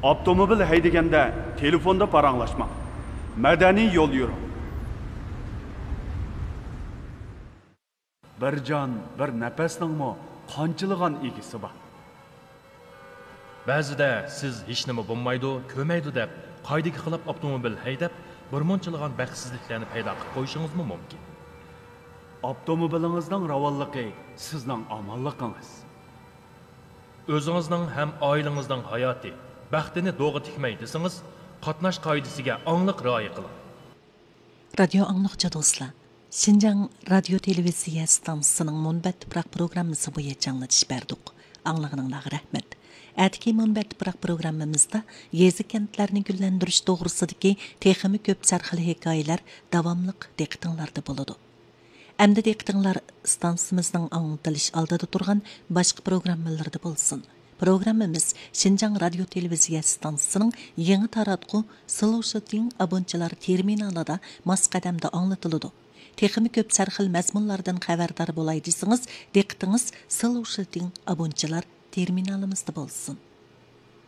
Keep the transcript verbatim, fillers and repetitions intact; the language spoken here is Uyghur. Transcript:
ئاپتوموبىل ھەيدىگەندە تېلېفوندا پاراڭلاشماڭ. مەدەنىي يول يۈرۈڭ. بىر جان، بىر نەپەسنىڭمۇ قانچىلىغان ئىگىسى بار؟ بەزىدە سىز ھېچنېمە بولمايدۇ، كۆرمەيدۇ دەپ، قائىدىگە خىلاپ ئاپتوموبىل ھەيدەپ، بىرمۇنچىلىغان بەختسىزلىكلەرنى پەيدا قىلىپ قويۇشىڭىزمۇ مۇمكىن. ئاپتوموبىلىڭىزنىڭ راۋانلىقى سىزنىڭ ئامانلىقىڭىز. ئۆزىڭىزنىڭ ھەم ئائىلىڭىزنىڭ ھاياتى، بەختىنى دوغا تىكمەي دېسىڭىز، قاتناش قائىدىسىگە ئاڭلىق رىئايە قىلىڭ. رادىيو ئاڭلىغۇچى دوستلار، شىنجاڭ رادىيو تېلېۋىزىيە ئىستانسىسىنىڭ مۇنبەت تۇپراق پروگراممىسى بويىچە ئاڭلىتىش بەردۇق. ئاڭلىغىنىڭلارغا رەھمەت. ئەتىكى مۇنبەت تۇپراق پروگراممىمىزدا يېزا كەنتلەرنى گۈللەندۈرۈش توغرىسىدىكى تېخىمۇ كۆپ سەرخىل ھېكايىلەر داۋاملىق دىققىتىڭلاردا بولىدۇ. ئەمدى دىققىتىڭلار ئىستانسىمىزنىڭ ئاڭلىتىلىش ئالدىدا تۇرغان باشقا پروگراممىلىرىدا بولسۇن. پروگراممىمىز شىنجاڭ رادىيو تېلېۋىزىيە ئىستانسىسىنىڭ يېڭى تاراتقۇ سلوشىتىڭ ئابونچىلار تېرمىنالىدا ماس قەدەمدە ئاڭلىتىلىدۇ. تېخىمۇ كۆپ سەرخىل مەزمۇنلاردىن خەۋەردار بولاي دېسىڭىز، دىققىتىڭىز سلوشىتىڭ ئابونچىلار تېرمىنالىمىزدا بولسۇن.